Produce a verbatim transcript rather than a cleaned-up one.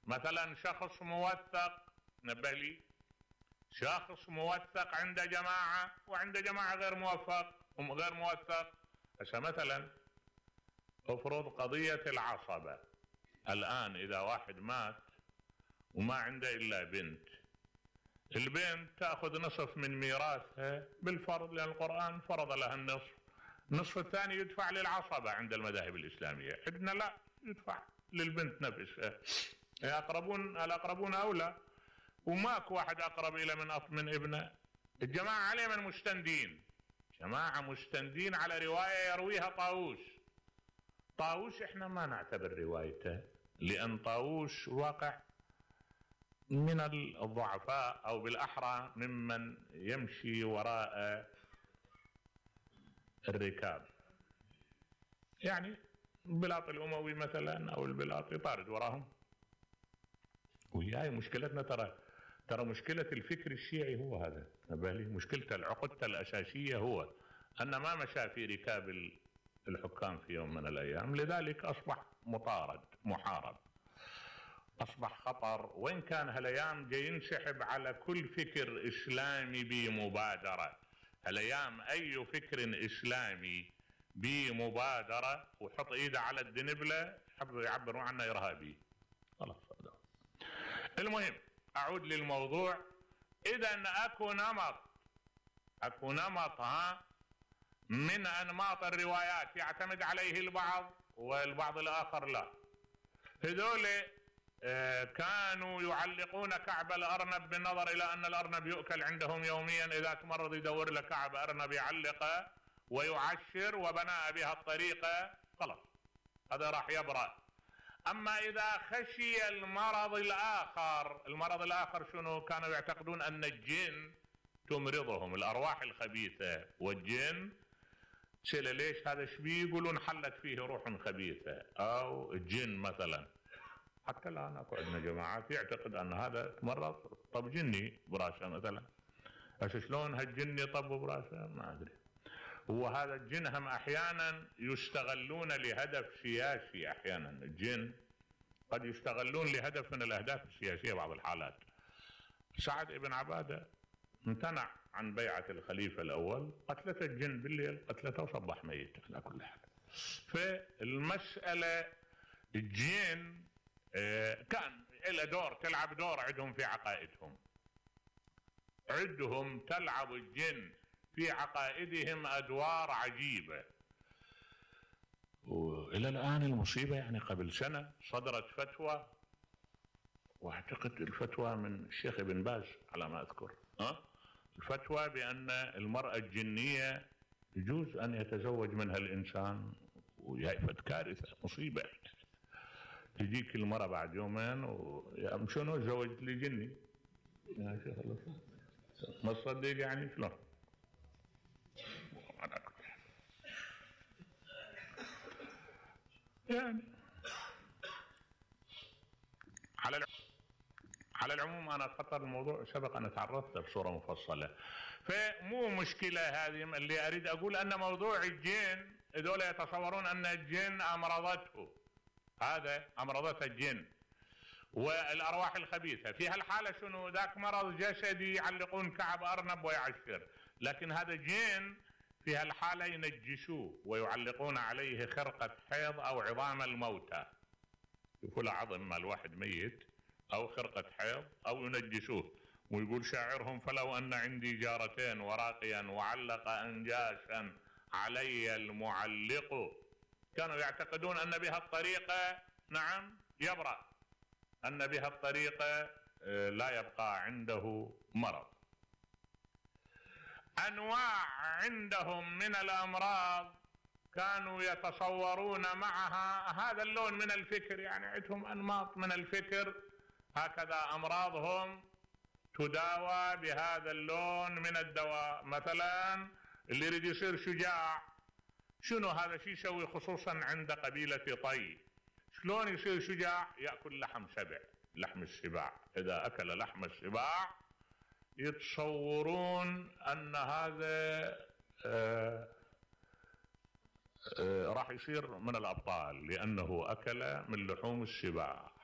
مثلا شخص موثق، نبه لي، شخص موثق عند جماعة وعند جماعة غير موفق غير موثق. هسه مثلا افرض قضية العصبة، الآن إذا واحد مات وما عنده إلا بنت، البنت تأخذ نصف من ميراثها بالفرض لأن القرآن فرض لها النصف، النصف الثاني يدفع للعصبة عند المذاهب الإسلامية، عندنا لا، يدفع للبنت نفسها. الأقربون الأقربون أولى، وماك واحد أقرب إلى من من ابنه. الجماعة عليه من مستندين، جماعة مستندين على رواية يرويها طاووس. طاووس احنا ما نعتبر روايته لأن طاووس واقع من الضعفاء أو بالأحرى ممن يمشي وراء الركاب، يعني البلاط الأموي مثلا أو البلاط يطارد وراهم. وهي مشكلتنا، ترى ترى مشكلة الفكر الشيعي هو هذا، نبالي مشكلته العقدة الأساسية هو أن ما مشى في ركاب الحكام في يوم من الأيام، لذلك أصبح مطارد محارب، أصبح خطر. وإن كان هالأيام جاي ينسحب على كل فكر إسلامي بمبادرة، هالأيام أي فكر إسلامي بمبادرة وحط إيده على الدنبلة يعبروا عنه إرهابي. خلاص هذا. المهم أعود للموضوع. إذا أكو نمط أكو نمط ها من أنماط الروايات يعتمد عليه البعض والبعض الآخر لا. هذول آه كانوا يعلقون كعب الأرنب بالنظر إلى أن الأرنب يؤكل عندهم يوميا، إذا تمرض يدور له كعب أرنب يعلقه ويعشر وبناء بها الطريقة، خلاص هذا راح يبرأ. أما إذا خشي المرض الآخر، المرض الآخر شنو؟ كانوا يعتقدون أن الجن تمرضهم، الأرواح الخبيثة، والجن سئل ليش هذا شبيه؟ يقولون حلت فيه روح خبيثة أو الجن مثلا. حتى الآن أكو عندنا جماعات يعتقد أن هذا تمرض طب جني براسه مثلا. بس شلون هالجني طب براسه ما أدري. وهذا الجن هم أحيانا يستغلون لهدف سياسي، أحيانا الجن قد يستغلون لهدف من الأهداف السياسية بعض الحالات. سعد بن عبادة امتنع عن بيعة الخليفة الأول، قتلته الجن بالليل، قتلته وصبح ميت على كل حال. فالمسألة الجن كان له دور، تلعب دور عندهم في عقائدهم، عندهم تلعب الجن في عقائدهم أدوار عجيبة. وإلى الآن المصيبة يعني قبل سنة صدرت فتوى، واعتقد الفتوى من الشيخ ابن باز على ما أذكر، أه؟ الفتوى بأن المرأة الجنية يجوز أن يتزوج منها الإنسان، وهي كارثة مصيبة. تجيك المرأة بعد يومين ويا شنو تزوجت لي جني يا شيخ الله ما تصدق يعني شلون؟ يعني على على العموم أنا خطر الموضوع سبق أن تعرضت بصورة مفصلة، فمو مشكلة هذه. اللي أريد أقول أن موضوع الجن هذول يتصورون أن الجن أمرضته، هذا أمرضته الجن والأرواح الخبيثة. في هالحالة شنو؟ ذاك مرض جسدي يعلقون كعب أرنب ويعشر، لكن هذا جن في هالحالة ينجسوه ويعلقون عليه خرقة حيض أو عظام الموتى، يقول عظم مال واحد ميت أو خرقة حيض أو ينجسوه. ويقول شاعرهم فلو أن عندي جارتين وراقيا وعلق أنجاسا علي المعلق. كانوا يعتقدون أن بها الطريقة نعم يبرأ، أن بها الطريقة لا يبقى عنده مرض. أنواع عندهم من الأمراض كانوا يتصورون معها هذا اللون من الفكر، يعني عندهم أنماط من الفكر، هكذا أمراضهم تداوى بهذا اللون من الدواء. مثلا اللي يريد يصير شجاع، شنو هذا شيء يسوي؟ خصوصا عند قبيلة طي، شلون يصير شجاع؟ يأكل لحم سبع، لحم السباع. إذا أكل لحم السباع يتصورون أن هذا آه آه راح يصير من الأبطال لأنه أكل من لحوم السباع.